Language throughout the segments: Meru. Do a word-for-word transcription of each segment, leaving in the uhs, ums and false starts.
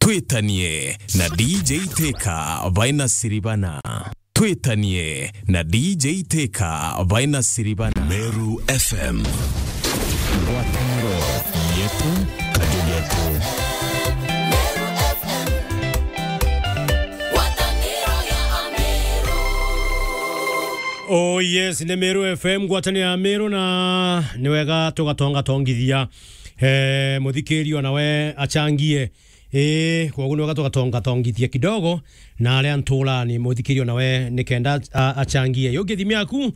Twitanie na D J Teka baina Siribana. Twitanie na D J Teka baina Siribana. Meru F M. Ngwataniro yetu, kajugetu. Oh yes, ni Meru F M, ngwataniro ya Meru, na ni wega tugatongatongithia, eh, muthikiria nawe achangie. Ii, kwoguo ni wega tugatongatongithia kidogo na aria nturani, muthikiria nawe nikenda a-, achangie. Yo githimi yaku,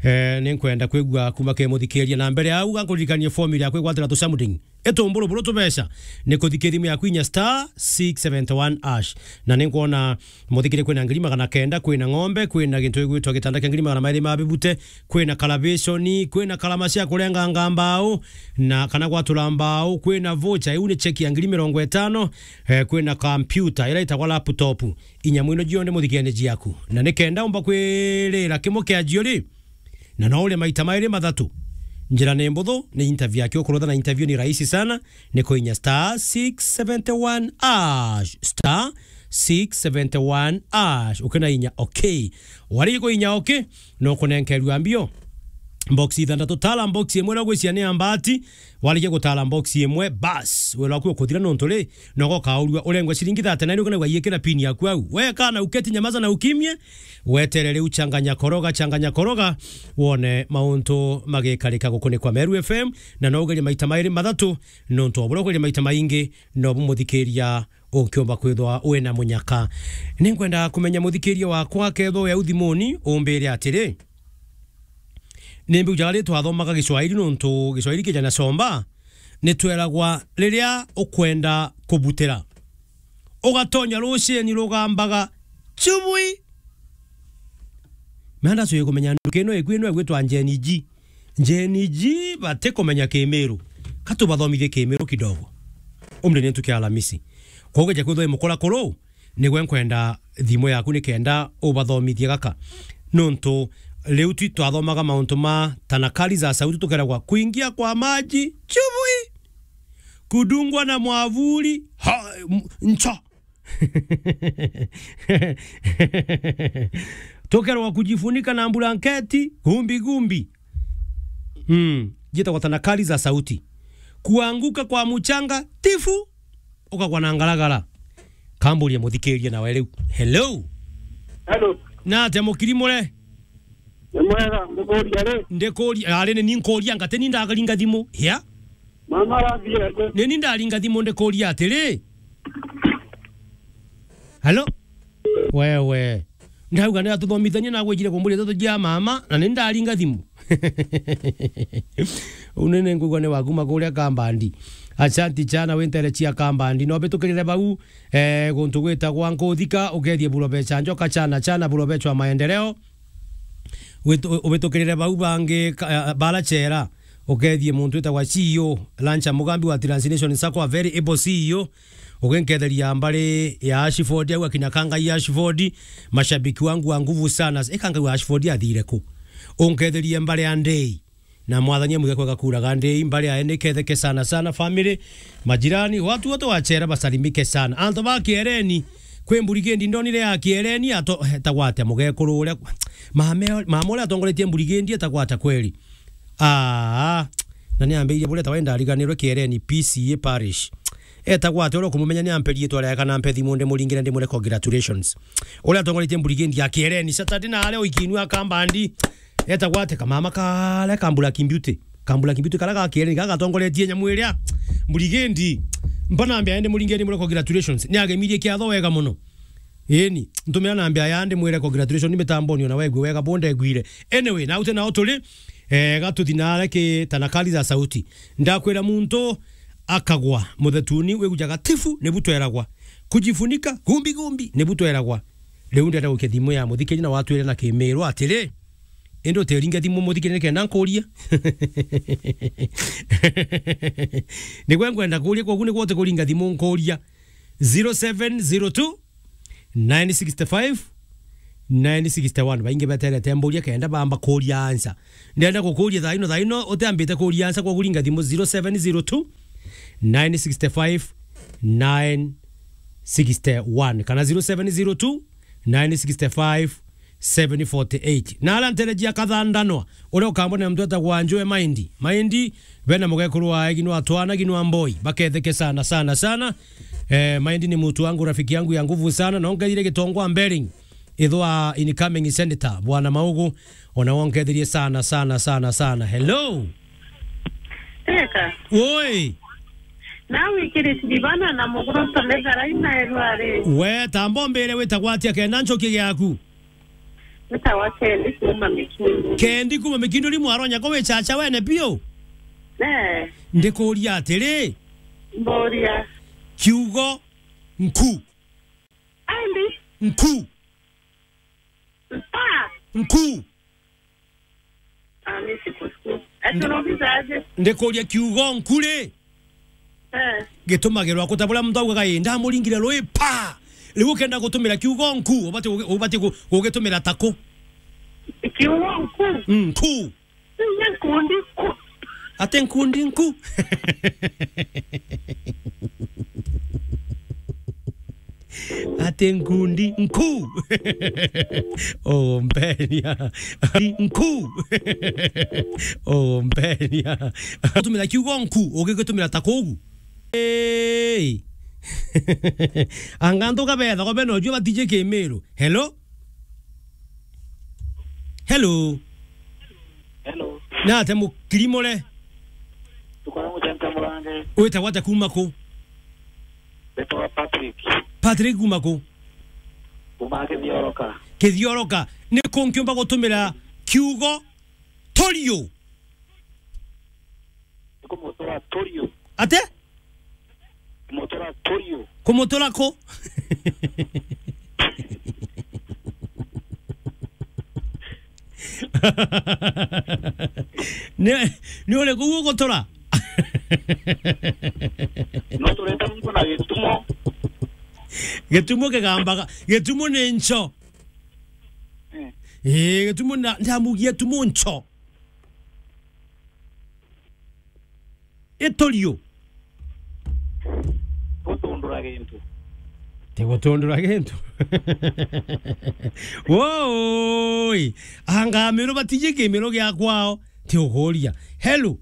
eh, ni nkwenda kwigua kuma ke muthikiria. Na mbere ya au, gankuririkanie formula ya kwigwatira tucamuding. Itumburu buru tubeca ni kuthikia thimu yaku inya star six seventy one hash. Na ni nkwona muthikiria kwina ngiri magana kenda, kwina ng'ombe, kwina gintu gigwitwa gitanda kia ngiri magana mairi ma bibute, kwina kalabeshoni, kwina kalama cia kurenganga mbao, na kana gwatura mbao, kwina voucher, iu ni cheki ya ngiri mirongo itano, eh, kwina computer, ira itagwa laptop. Inyamu ino jionthe muthikiria ni jiaku. Na ni kenda umba kwirira kimwe kia jio ri, na no urie maita mairi mathatu. Njira ni mbuthu, ni interview yake ukurutha, na interview ni rahisi sana, ni kuinya star six seventy one hash, star six seventy one hash, ukina inya okay. Wari kuinya okay, no kunenkerua mbio box ithanthatu. Tala box imwe na gwiciria ni ya mbati, warikia gutala box imwe, bas, wira waku ukuthira nontu ri, nogo kaurua urengwe ciringi thirty nine, ukina waiyikira pin yaku au. We kana uketi, nyamaza na ukimie, wetere riu, changanya koroga, changanya koroga, wone mauntu magikarika gukunikwa Meru F M, na no ugerie maita mairi mathatu, nontu o buria ugerie maita maingi, no bumuthikiria ukiumba kwithwa wina munyaka. Ni nkwenda kumenya muthikiria wakwa, kethwa wi au thimuni, umbire atiri, ni mbiujaga ri twathomaga Giswahili, nontu Giswahili kija na somba, ni tweragwa riria ukwenda kubutira, ugatonya rucini rugambaga, chubui. Menda cui kumenya nduka ino iku ino igwitwa Gen G. Gen G batikumenya Kimiru. Ka tubathomithie Kimiru kidogo. Umri ni ntuku ya Alamisi. Kwoguo ja kwithwa i mukurakuru, nigwe nkwenda thimu yaku nikenda ubathomithie gaka. Nontu riu twi twathomaga mauntu ma tanakali za sauti, tukeragwa kuingia kwa maji, chubui, kudungwa na mwavuli, ha, m-, ncho. Tukerwa kujifunika na blanketi, gumbi gumbi. Mm, jitagwa tanakali za sauti. Kuanguka kwa mchanga, tifu, ukagwa na ngaragara. Kamburie muthikiria nawe riu. Hello? Hello. Na atia mukiri muri? Ni mwega, ndikuria ri? Ndikuria, ari ni ni nkuria, ngate ni ndagaringa thimu. Hia? Mama arathire ku? Ni ni ndaringa thimu ndikuria atiri. Hello? Wewe. Ndauga ni atuthomithanie na gwijire kumburia ndeto jia mama, na ni ndaringa thimu. Unene ngugwa ni waku makuria Kambandi. Ashanti chana wintere chia Kambandi. No bitukirire bau, eh, guntu gwitagwa Nkuthika, ukethie Burobe cha Njoka chana, chana Burobe chwa maendeleo. Witu-, ubitukirire bau bangi ka-, bara chera, ukethie muntu witagwa C E O, Lancha Mugambi wa Translation Sacco, a very able C E O, uginketheria mbari ya Ashford, au akina Kangai Ashford, mashabiki wangu wa nguvu sana. E Kangai wa Ashford athire ku? Unketherie mbari ya Ndei. Na mwathani amuge kwega kuraga Ndei, mbari yae niketheke sana sana, family, majirani, watu wote wa chera basalimike sana. Antu ba Kiereni, kwi mburigendi ndonire ya Kiereni, ato-, etagwa atia mugekuru uria, mama, mama uria atongoretie mburigendi etagwa atia kweri? Aa, na ni ambirie buria etagwa, indariganirwe, Kiereni P C A Parish. Etagwa atia uria ukumumenya? Ni ampe riitwa riake kana ampe thimu ndimuringire ndimwire congratulations. Uria atongoretie mburigendi ya Kiereni Saturday na aria uikinua Kambandi. Etagwa atia kamama karia ka Black Beauty? Ka Black Beauty karia ga Kiereni, karia gatongoretie nyamu iria mburigendi. Mpa namba yae ndimuringire ndimwire congratulations. Ni agemirie kiatho wega muno. Eni, ntumira namba yae ndimwire congratulations, ni mitamboni ona wegwe wega, bo ndegwire. Anyway, na ute nao turi, eh, gatuthi nare ki tanakali za sauti. Ndakwira muntu akagwa muthetuni, wigujaga tifu, nibu tweragwa. Kujifunika, gumbi gumbi, nibu tweragwa. Riu ndenda gukia thimu ya muthikiri na watwire na Kimiru atiri, indi utiringe thimu muthikiri nikenda nkuria. Nigwe nkwenda kuria, kwogu nigwe utikuringa thimu nkuria. Zero seven zero two, nine six five, nine six one. Baingi beterete mburia kenda bamba kuria answer. Ndenda gukuria thaino, thaino utiambite kuria answer, kwogu ringa thimu zero seven zero two, nine six five, nine sixty-one kana zero seven zero two, nine six five, seven forty-eight. Na ala ntereji ya Kathandanwa, uria ukambona muntu etagwa Njue Maindi. Maindi, bena mugekuru wa Ginwa Twana, Ginwa Mboi. Baketheke sana, sana, sana. Eh, Maindi ni mtu wangu, rafiki yangu ya nguvu sana. Na ongethire Gitongwa Mbering. Ithwa incoming senator, Bwana Maugu. Ona wongethirie sana, sana, sana, sana. Hello. Teka. Woi. Na wikiriti bana na muguro tumethara ina erwari. We, tambo mbere witagwa atia kenda nchokie giaku? Witagwa Kendi kuma Mikindu. Kendi kuma Mikindu ni mwaronya ko wichacha wene bio? Eh. Ndikuria atiri. Mboria. Kiugo nku. Andi. Nku. Mpa. Nku. Ah, mi sikusikia. Ati unauliza aje? Ndikuria kiugo nku ri? Eh. Gitumagirwa ku ta buria muntu augaga, "Ii, ndamuringire rui, pa!" Riu ukenda gutumira kiugo nku, ubati kugi-, ubati ku-, kugitumira ta ku? Kiugo nku? Mm, nku. Nkundi nku. Ati nkundi nku. Ati nkundi nku. Oh, mpenia. Nku. Oh, mpenia. Utumira kiugo nku, ugigitumira ta kugu. Hey. Anga antu kabethagwa bena ujua batiji kimiru. Hello? Hello. Hello. Nate mukirimure. Tukora muchancha murange. Witagwa atia kuma ku? Witagwa Patrick. Patrick kuma ku? Kuma Kithioroka. Kithioroka. Ni ku nkiumba gutumira kiugo torio? Ni kumutura torio. Ate? Kumutura torio. Kumutura ku? Ni, ni uriku ugutura? No tureta muntu na gitumo. Gitumo kigambaga, gitumo ni ncho. Eh. Eh, gitumo na, ndamugia gitumo ncho. Itorio. Gutundura gintu. Ti gutundura gintu. Woi, anga miru batiji kimiru gia kwao, ti uguria. Hello.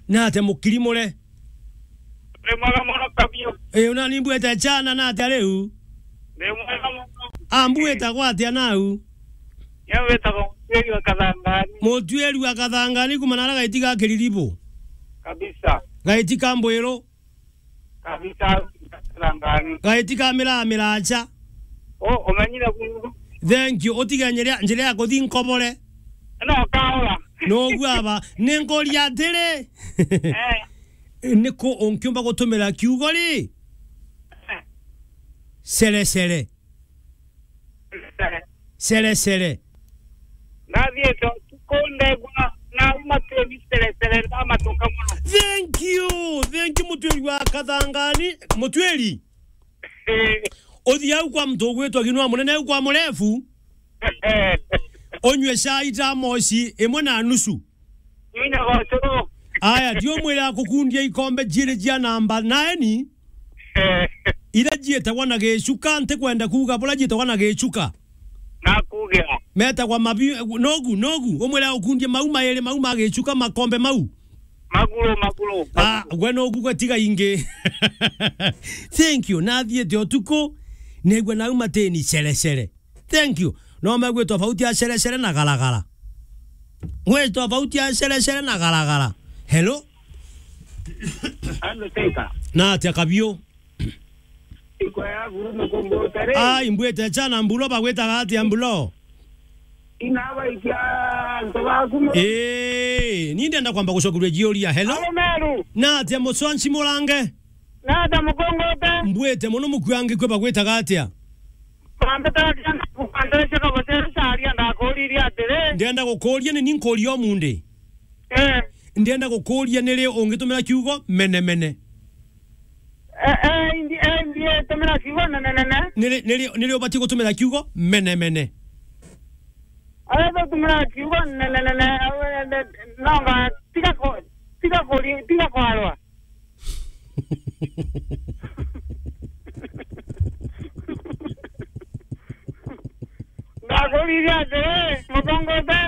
Nate mukirimure? Ndi mwega muno kabiu. Ii, una ni mbuete chana nate riu? Ndi mwega muno. A, mbuete gwatia nau? Ni witagwa Mutuiri wa Kathangani. Mutuiri wa Kathangani kuma nara gaiti ga Kiriribu. Kabisa. Gaiti ka Mbwiru. Kabisa, Kathangani. Gaiti ka Miraa Miracha. O, umenyire ku. Thank you. Utige njira, njira ya kuthi Nkobore. No kaora. No guaba. Ni nkuria atiri. Eh. Ni ku unkiumba gutumira kiugo ri? Eh. Cere cere. Cere cere. Cere cere. Nathiite utuku ndegwa na uma tiri cere cere ndamatuka muno. Thank you. Thank you, Mutuiri wa Kathangani. Mutuiri. Eh. Uthi au kwa muntu ugwitwa Ginwa Munene au kwa Murefu. Unywe chai tamosi imwe na nusu. Nina gocoro. Aya, ndio mwira akukundia ikombe jiiri jia namba nine. Eh. Ira jietagwa na gicuka, ntikwenda kuuga bura jietagwa na gicuka. Nakugira. Metagwa mabi-, nogu, nogu, umwira ukundie mau mairi, mau ma gicuka, makombe mau. Maguru, maguru. Ah, gwe nogu gwe tiga ingi. Thank you. Nathiite utuku, negua nau mateni cere cere. Thank you. No megwitwa tofauti ya cere cere na garagara. Gwitwa tofauti ya cere cere na garagara. Hello? Hello, Teka. Na atia kabiu? Iko ya guru mukombotere. Ai, mbwite chana mbulo, bagwitaga atia mbulo? Inabaikia antu baku mu- Eh, ni ndenda kwamba gucokeria jiuria. Hello? Alo, Meru. Na atia mucwanci murange? Na atia mukongote? Mbwite muno mukuangi kwe bagwitaga atia? Bambitaga kianda kukanderecia kabotere caria ndakuririe atiri. Ndenda gukuria ni ni nkuria umundi. Eh. Ndenda gukuria ni ri ungitumira kiugo mene mene? Eh, eh, indi, eh, indi, eh, tumira kiugo nene nene. Ni ri, ni ri, ni ri ubati gutumira kiugo mene mene? Aria tutumira kiugo nene nene, eh, eh, nonga tiga ku-, tiga kuri-, tiga kwarwa. Akuriria atiri, mutongote,